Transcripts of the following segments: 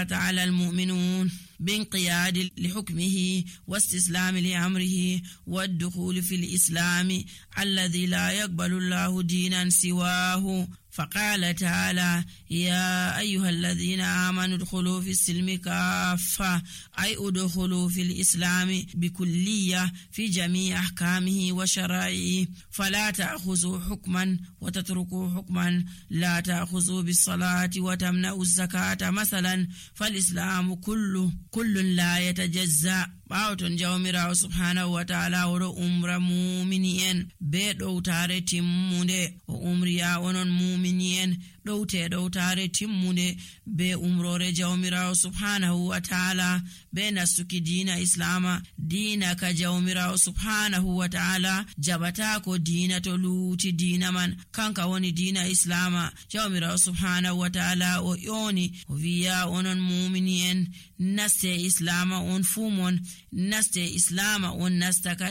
تعالى المؤمنون بانقياد لحكمه واستسلام لأمره والدخول في الإسلام الذي لا يقبل الله دينا سواه. فقال تعالى: يا أيها الذين آمنوا ادخلوا في السلم كافة، أي ادخلوا في الإسلام بكلية في جميع أحكامه وشرائعه، فلا تأخذوا حكما وتتركوا حكما، لا تأخذوا بالصلاة وتمنعوا الزكاة مثلا، فالإسلام كل لا يتجزأ. ɓawton jawmirawo subhanahu wa ta'ala oɗo umra mumini en be ɗowtare timmunde, o umriya onon mumini en ɗowte ɗowtare timmunde be umrore jawmirawo subhanahu wa ta'ala be nastuki dina islama, dina ka jawmirawo subhanahu wa ta'ala jabata ko dina to luuti dina man kanka woni dina islama. jawmirawo subhanahu wa ta'ala o yoni o wiya onon mumini en naste islama on fumon, naste islama on nastaka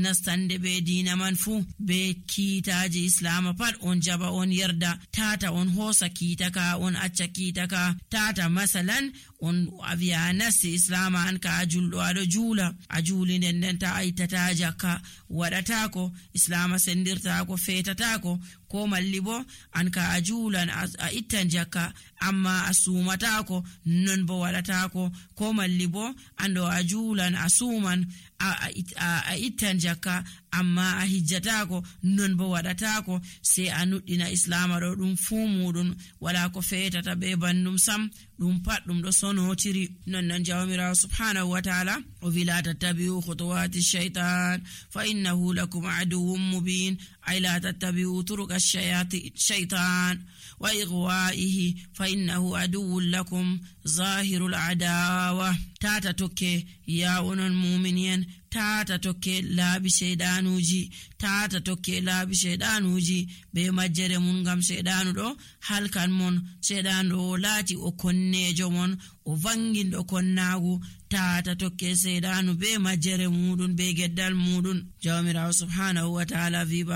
nastande be dina man fu, be kiitaji islama pat on jaba on yerda, tata on hosa kiitaka on acca kiitaka, tata masalan on aviya naste islama an ka ajulɗo aɗo juula a juuli nden ta aitata jakka waɗatako islama sendirtako fetatako, ko malli bo an ka a juulan a ittan jakka amma a sumatako non bo waɗatako, ko malli bo ando a juulan a suman a ittan jakka amma a hijjatako non bo waɗatako, sai a nuɗɗina islama ɗo ɗum fuu muɗum wala ko fetata be bandum sam, ɗum pat ɗum ɗo sonotiri. non jawmirawo subhanahu wa ta'ala o wila tattabi'u khutuwati shaytan fa innahu lakum aduwwun mubin, ay la tattabi'u turuqa shaytan wa ighwa'ihi fa innahu aduwwun lakum zahirul adawa. tata tokke ya onon mu'minin, tata tokke laabi shaydanuji, tata tokke laabi shaydanuji be majjere mun, ngam shaydanu ɗo halkan mon, shaydanu ɗo laati o konnejo mon, o vanginɗo konnagu, tata tokke shaydanu be majjere muɗum be geddal muɗum. jawmirawo subhanahu wa ta'ala viba